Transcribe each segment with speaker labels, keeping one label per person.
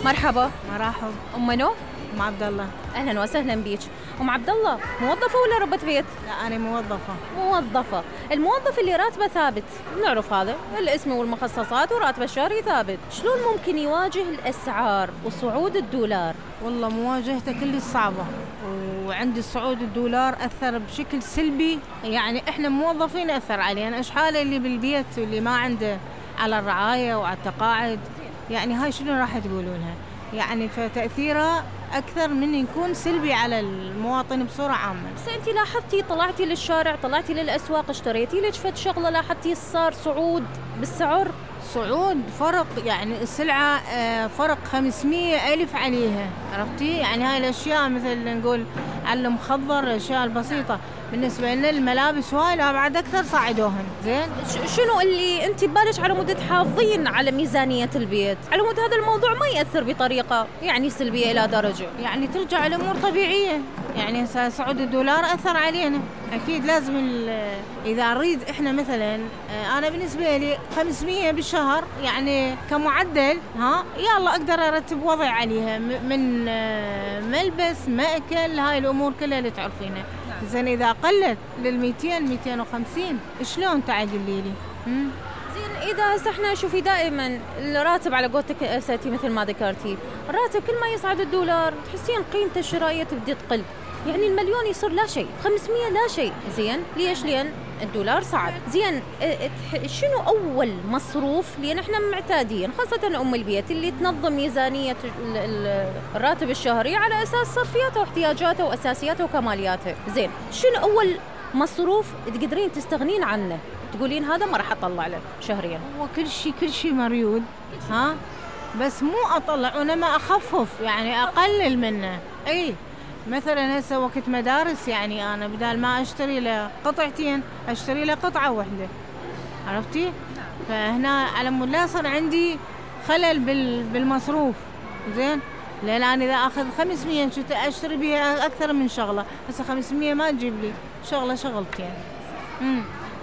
Speaker 1: مرحبا.
Speaker 2: مرحب.
Speaker 1: ام منو؟
Speaker 2: ام عبد الله.
Speaker 1: اهلا وسهلا بيك. ام عبد الله، موظفه ولا ربة بيت؟
Speaker 2: لا انا موظفه.
Speaker 1: موظفه. الموظف اللي راتبه ثابت، نعرف هذا الاسم والمخصصات وراتبه الشهري ثابت، شلون ممكن يواجه الاسعار وصعود الدولار؟
Speaker 2: والله مواجهته كلش صعبه، وعند صعود الدولار اثر بشكل سلبي، يعني احنا موظفين اثر علينا، ايش حاله اللي بالبيت واللي ما عنده على الرعايه وعلى التقاعد، يعني هاي شنو راح تقولونها؟ يعني فتأثيرها أكثر من يكون سلبي على المواطن بصورة عامة.
Speaker 1: بس أنت لاحظتي، طلعتي للشارع، طلعتي للأسواق، اشتريتي لك فد شغلة، لاحظتي صار صعود بالسعر؟
Speaker 2: صعود فرق، يعني السلعة فرق 500 ألف عليها، عرفتي؟ يعني هاي الأشياء مثل نقول على المخضر، الأشياء البسيطة، بالنسبة لنا الملابس هاي لا بعد أكثر صاعدوهن. زين،
Speaker 1: شنو اللي أنت ببالك على مود تحافظين على ميزانية البيت، على مود هذا الموضوع ما يأثر بطريقة يعني سلبية إلى درجة؟
Speaker 2: يعني ترجع الأمور طبيعية، يعني صعود الدولار أثر علينا، أكيد لازم إذا نريد إحنا مثلا، أنا بالنسبة لي 500 بالشهر يعني كمعدل، يلا أقدر أرتب وضع عليها من ملبس، مأكل، هاي الأمور كلها اللي تعرفينها. زين إذا قلت لل200 250 شلون تعدلي لي؟
Speaker 1: زين، إذا هسه احنا شوفي دائما الراتب على قولتك أساتي مثل ما ذكرتي، الراتب كل ما يصعد الدولار تحسين قيمته الشرائية تبدي تقل، يعني المليون يصير لا شيء، 500 لا شيء. زين، ليش؟ لأن الدولار صعد. زين، شنو أول مصروف؟ لأن احنا معتادين خاصة أم البيت اللي تنظم ميزانية الراتب الشهري على أساس صرفياته واحتياجاته وأساسياته وكمالياته. زين، شنو أول مصروف تقدرين تستغنين عنه تقولين هذا ما راح أطلع له شهريا؟
Speaker 2: هو كل شيء مريود، بس مو أطلع، وأنا ما أخفف، يعني أقلل منه. أي مثلا هسه وقت مدارس، يعني أنا بدال ما أشتري له قطعتين أشتري له قطعة واحدة، عرفتي؟ فهنا على مود لا يصير عندي خلل بالمصروف. زين، لأن أنا إذا أخذ 500 أشتري بها أكثر من شغلة، هسه 500 ما تجيب لي شغلتين.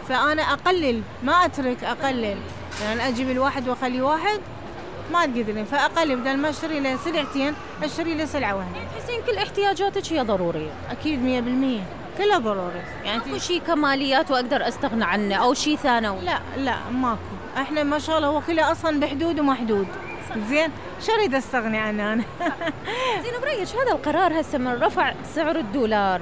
Speaker 2: فأنا أقلل، ما أترك، أقلل، يعني أجيب الواحد وأخلي واحد ما تقدرين، فأقلل، بدل ما أشتري له سلعتين أشتري له سلعة واحدة.
Speaker 1: تحسين كل احتياجاتك هي ضرورية؟
Speaker 2: أكيد 100% كلها ضروري. يعني
Speaker 1: ماكو شيء كماليات وأقدر أستغنى عنه أو شيء ثانوي؟
Speaker 2: لا ماكو، إحنا ما شاء الله هو كله أصلا بحدود ومحدود. زين، شو أريد أستغني عنه أنا؟
Speaker 1: زين، برأيك هذا القرار هسه من رفع سعر الدولار،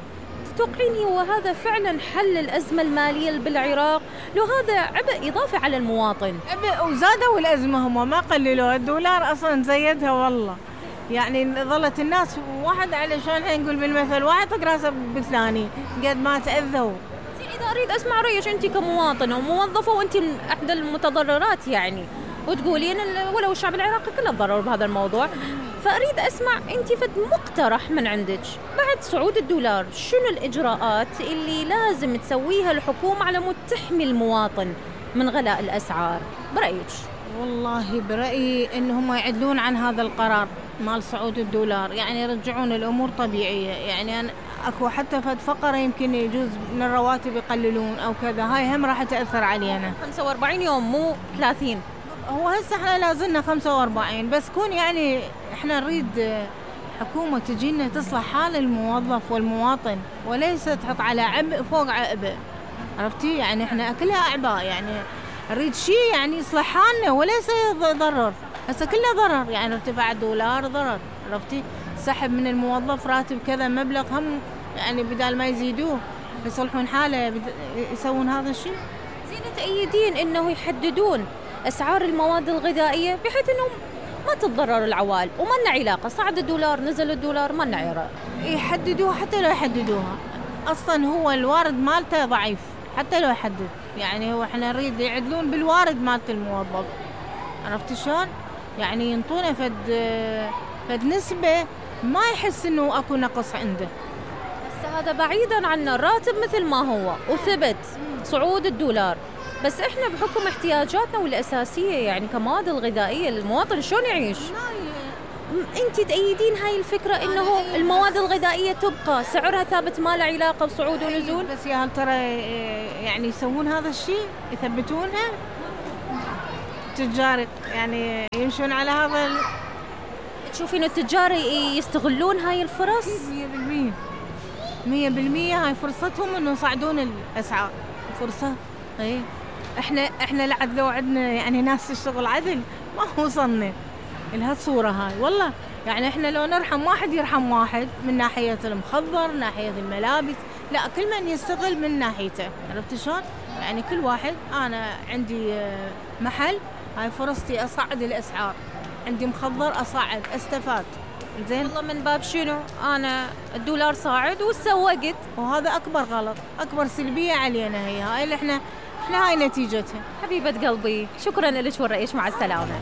Speaker 1: تتوقعين هو هذا فعلا حل الأزمة المالية بالعراق؟ لو هذا عبء إضافي على المواطن؟
Speaker 2: عبء، وزادوا الأزمة، هم ما قللوها، الدولار أصلا زيدها والله، يعني ظلت الناس واحد علشان نقول بالمثل واحد طق راسه بالثاني قد ما تأذوا.
Speaker 1: إذا أريد أسمع رأيك أنت كمواطنة وموظفة وأنت من أحد المتضررات، يعني وتقولين ولو الشعب العراقي كله تضرر بهذا الموضوع، فأريد أسمع أنت فد مقترح من عندك بعد صعود الدولار، شنو الإجراءات اللي لازم تسويها الحكومة على مود تحمي المواطن من غلاء الأسعار برأيك؟
Speaker 2: والله برأيي إنهم يعدلون عن هذا القرار مال صعود الدولار، يعني يرجعون الأمور طبيعية، يعني أنا أكو حتى فد فقرة يمكن يجوز من الرواتب يقللون أو كذا، هاي هم راح تأثر علينا.
Speaker 1: 45 يوم مو 30.
Speaker 2: هو هسه احنا لازلنا 45، بس كون يعني احنا نريد حكومة تجينا تصلح حال الموظف والمواطن، وليس تحط على عبء فوق عبء، عرفتي؟ يعني احنا كلها أعباء، يعني نريد شيء يعني يصلح حالنا وليس يضرر. هسه كله ضرر، يعني ارتفاع الدولار ضرر، عرفتي؟ سحب من الموظف راتب كذا مبلغ، هم يعني بدال ما يزيدوه يصلحون حاله يسوون هذا الشيء.
Speaker 1: زين، تأيدين انه يحددون اسعار المواد الغذائيه بحيث انه ما تتضرر العوائل، وما لنا علاقه صعد الدولار نزل الدولار ما لنا علاقه.
Speaker 2: يحددوها، حتى لو يحددوها اصلا هو الوارد مالته ضعيف، حتى لو يحدد، يعني هو احنا نريد يعدلون بالوارد مالت الموظف، عرفتي شلون؟ يعني ينطونا فد نسبه ما يحس انه اكو نقص عنده.
Speaker 1: بس هذا بعيدا عن الراتب مثل ما هو وثبت صعود الدولار، بس احنا بحكم احتياجاتنا والاساسيه يعني كمواد الغذائيه للمواطن شلون يعيش؟ انت تأيدين هاي الفكره انه المواد الغذائيه تبقى سعرها ثابت ما له علاقه بصعود ونزول؟
Speaker 2: بس يا هل ترى يعني يسوون هذا الشيء، يثبتونها تجار، يعني يمشون على هذا
Speaker 1: تشوفين التجار يستغلون هاي الفرص؟
Speaker 2: 100% هاي فرصتهم انه يصعدون الاسعار. فرصة. اي احنا لعد لو عندنا يعني ناس تشتغل عدل ما وصلنا لهالصورة هاي والله. يعني احنا لو نرحم واحد يرحم واحد من ناحية المخضر، ناحية الملابس، لا كل من يستغل من ناحيته. عرفت شلون؟ يعني كل واحد، انا عندي محل هاي فرصتي اصعد الاسعار، عندي مخضر اصعد استفاد. زين
Speaker 1: والله من باب شنو؟ انا الدولار صاعد وسوقت،
Speaker 2: وهذا اكبر غلط، اكبر سلبية علينا هاي اللي احنا هاي نتيجتها.
Speaker 1: حبيبة قلبي شكرا لك ورئيش، مع السلامة.